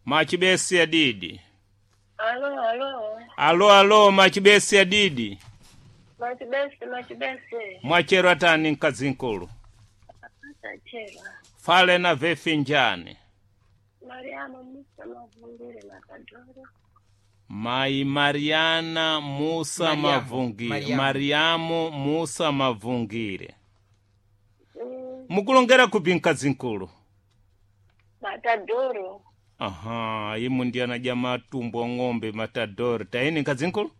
Machibesi ya didi. Alo, alo. Alo alo machibesi ya didi. Machibesi, machibesi. Mwachero atani mkazinkulu. Tachera. Fale na vefinjani. Mariamu Musa Mavungire Matadoro. Mai Mariana Musa Mariamu, Mavungire. Mariamu. Mariamu Musa Mavungire. Mukulongera kupi mkazinkulu? Matadoro. Aha, imu ndi anaja matumbo ng'ombe matadori. Taini mkazinkulu?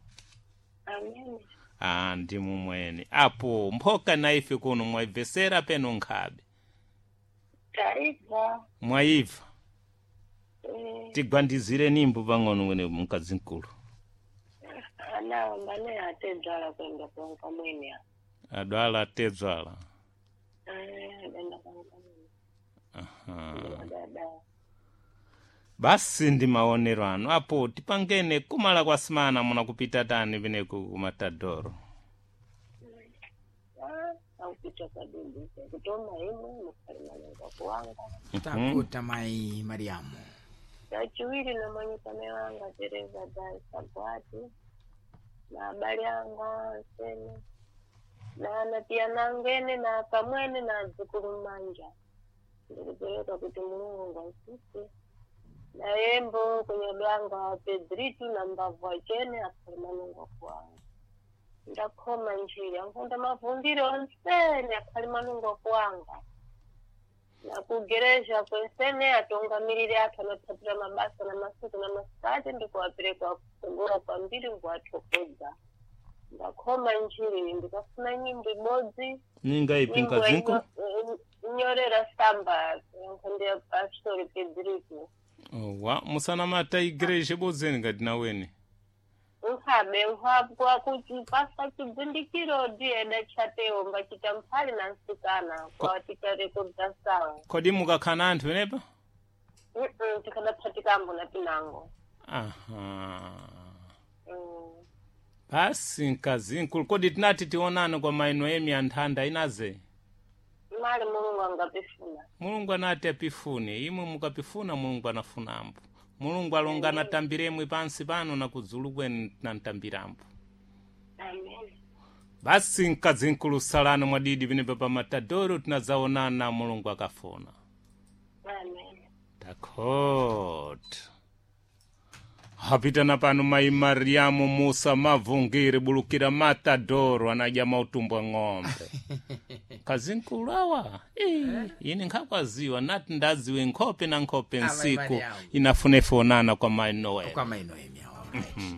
Amen. Ah, ndi mumweni. Apo mphoka na ife kuno mwaibvesera peno nkhabe. Taifa. Mwaibva. Eh, Tigwandizire nimbo pang'ono mwene mkazinkulu. ana mbane atedzala kwenda kwa mwene. Adwala atedzala. Eh, kwenda kwa mwene. Aha. Dada. Basi ndi maonero anu apo tipangene kumala kwa simana munakupita tani peneku kumatadoro. Ah, aupita kwa dudu. Kutoma imwe mukalimana kuwanga. Takuta mai Mariamu. Chachiwiri na manyikame wanga Tereza Dai Sabwati na abale anga onsene na anatiya nangene na akamwene na adzukulu manja ndikupereka kuti Mulungu asise na yembo kunyadwanga Pedritu na mbavu achene akhale manungo kuwanga ndakhoma njira nkhunda mavumbiro onsene akhale manungo kuwanga na kugereja kwensene atungamirire athu anaphatira mabasa na masiku na masikati ndikuwapereka kutsogolo kwambiri nkuwathokoza ndakhoma njiri ndikafuna nyimbo ibodzi Ninga ipi nyimbo mkazinkulu? inyorera samba nkhonde ya pastori Pedrito Owa, musanamata igreja bodzeni ngati naweni. nkhabe nkhwapwa kuti pasa chibvindikiro ndiyeda chatewo mbachita mphali na nsikana kwatikarekodza sawa Kodi mukakhala anthu penepa? Tikadaphatikambona na pinango. Aha. Mm. Basi mkazinkulu kodi tinati tionane kwa maino emi anthanda inaze. Mali Mulungu angapifuna. Mulungu anati apifune imwe mukapifuna Mulungu anafunambo. Mulungu alonga anatambiremwe pansi pano na kudzulu kwenu tinantambirambo. Amen. Basi mkazinkulu salano mwadidi penepa pa matadoro tinadzaonana Mulungu akafuna. Amen. Takot. Hapitana pano mai Mariamu Musa Mavungire bulukira matadoro anadya mautumbo a ng'ombe. Kazinkulu awa. Eh, ine nkhakwaziwa nati ndaziwe nkhope na nkhope Amai nsiku Mariamu. inafune fonana kwa mai Noel. Kwa mai Noemi. All right.